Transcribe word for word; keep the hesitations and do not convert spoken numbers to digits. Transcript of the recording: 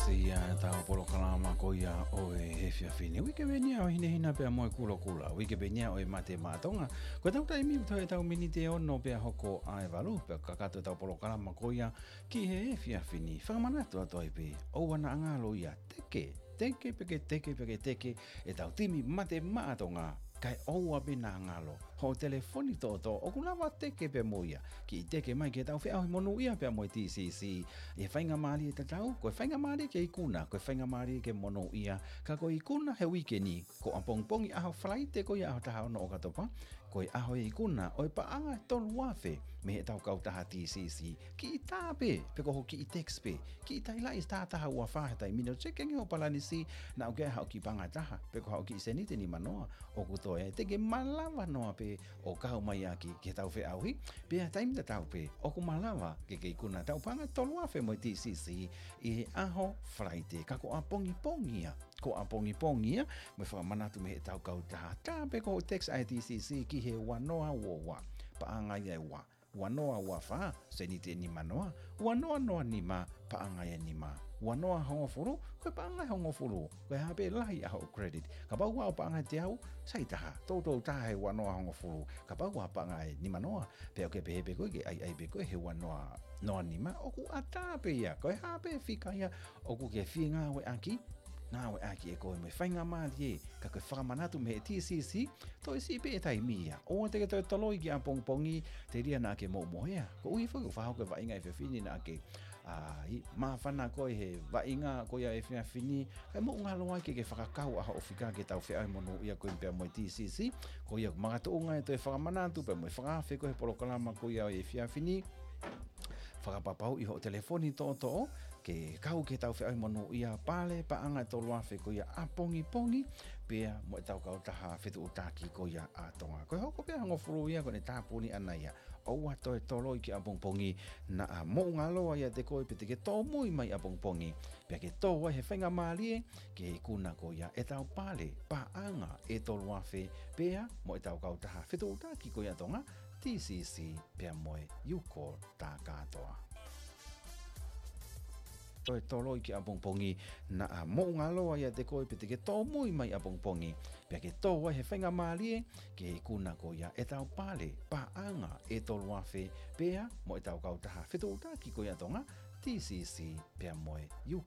Ia ʻetau polokalama ko ia ʻo e efiafi ni. Uike pē eni ia ʻo e hinehina pea mo e kulokula. Uike pē eni ia ʻo e mate maʻa Tonga. Ko ʻetau taimi ʻoku toe ʻetau miniti ʻe ono pea hoko ʻa e valu. Pea kakato ʻetau polokalama ko ia ki he efiafi ni. Fakamanatu atu ai pē, ʻoua naʻa ngalo ia, teke, teke, peke, teke, peke, teke, ʻetau timi mate maʻa Tonga, kae ʻoua pē naʻa ngalo hoʻo telefoni toʻotoʻo, ʻoku lava teke pē mo ia. Kiʻi teke mai ki heʻetau feʻauhi monūʻia pea mo e T C C. ʻI he faingamālie tatau, ko e faingamālie ke ikuna, ko e faingamālie ke monūʻia, ka ko e ikuna he uike ni, ko ʻapongipongi ʻaho Falaite ko ia ʻaho taha ono ʻOkatopa, ko e ʻaho e ikuna ʻo e paʻanga ʻe tolu afe mei heʻetau kautaha T C C. Kiʻi tā pē, pe ko hoʻo kiʻi text pē, kiʻi tailaʻi ʻe taha taha ua fā he taimi ni, ʻo teke ange hoʻo palanisi, naʻa ʻoku ʻi ai haʻo kiʻi paʻanga ʻe taha, pe ko haʻo kiʻi sēniti ʻe nima noa ʻoku toe ai, te ke malava noa pē ʻo kau mai ʻaki ki heʻetau feʻauhi. Pea taimi tatau pē, ʻoku malava ke ke ikuna ʻetau paʻanga ʻe tolu afe mo e T C C ʻi he ʻaho Falaite, ka ko ʻapongipongi ia, ko ʻapongipongi ia, mo e fakamanatu mei heʻetau kautaha, tā pē ko hoʻo text ʻa e T C C ki he ua noa ua ua, paʻanga ia ʻe ua, ua noa ua fā, sēniti ʻe nima noa, ua noa noa nima, paʻanga ia ʻe nima, ua noa hongofulu, ko e paʻanga ʻe hongofulu, ko e hā pē lahi ʻa hoʻo credit. Kapau ʻoku ʻi ai hoʻo paʻanga ʻe teau, sai taha, toutou tā he ua noa hongofulu. Kapau ʻoku ʻi ai hoʻo paʻanga ʻe nima noa, pea ʻoku ke pehē pē koe ke ʻai, ʻai pē koe he ua noa noa nima, ʻoku ʻatā pē ia, ko e hā pē fika ia ʻoku ke fie ngāueʻaki, ngāueʻaki ʻe koe mo e faingamālie, ka ko e fakamanatu mei he T C C, toe siʻi pē e taimi ia. ʻOua te ke toe toloi ki ʻapongipongi, telia naʻa ke moʻumoʻea. Koeʻuhi foki ʻoku fakahoko e vaʻinga he efiafi ni, naʻa ke, ʻai, māfana koe he vaʻinga ko ia he efiafi ni, kae mou ngalo ai ke ke fakakau ʻa hoʻo fika ki heʻetau feʻauhi monūʻia ko ia pea mo e T C C. Ko ia ʻoku makatuʻunga e toe fakamanatu pea mo e fakaafe ko ia he polokalama ko ia ʻo e efiafi ni. Fakapapauʻi hoʻo telefoni toʻotoʻo ke kau ki heʻetau feʻauhi monūʻia, pale paʻanga ʻe tolu afe ko ia ʻapongipongi, pea mo ʻetau kautaha fetuʻutaki ko ia ʻa Tonga. Ko e hoko pē ʻa e hongofulu ia, ko ʻene tāpuni ʻana ia. ʻOua toe toloi ki ʻapongipongi, naʻa mou ngalo ai ʻiate koe pe te ke tōmui mai ʻapongipongi, pea ke tō ai he faingamālie ke ikuna ko ia ʻetau pale paʻanga ʻe tolu afe, pea mo ʻetau kautaha fetuʻutaki ko ia ʻa Tonga, T C C, pea mo e Youcall Takatoa. Toe toloi ki ʻapongipongi, naʻa mou ngalo ai ʻiate koe pe te ke tōmui mai ʻapongipongi, pea ke tō ai he faingamālie ke ikuna ko ia ʻetau pale paʻanga ʻe tolu afe, pea mo ʻetau kautaha fetuʻutaki ko ia ʻa Tonga, T C C, pea mo e U